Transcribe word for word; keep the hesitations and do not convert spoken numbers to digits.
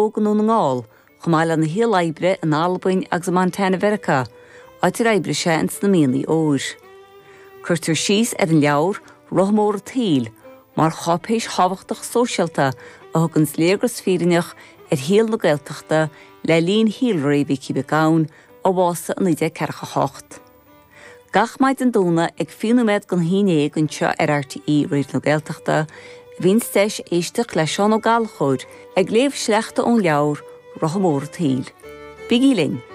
óg i nDún na nGall, chomh maith lena shaol oibre in Albain agus i Montana Mheiriceá, áit ar oibrigh sé ins na mianaigh óir. Cuirtear síos ar an leabhar Rotha Mór an tSaoil mar cháipéis thábhachtach sóisialta a thugann léargas fírinneach ar shaol na Gaeltachta le linn shaolré Mhicí Mhic Gabhann a bhásaigh i naoi déag ceathracha a hocht. Gach maidin Domhnaigh ag fiche nóiméad don haon déag anseo ar RTÉ Raidió na Gaeltachta, bíonn deis éisteacht le Seán Ó Gallchóir ag léamh sleachta ón leabhar Rotha Mór an tSaoil. Bígí linn!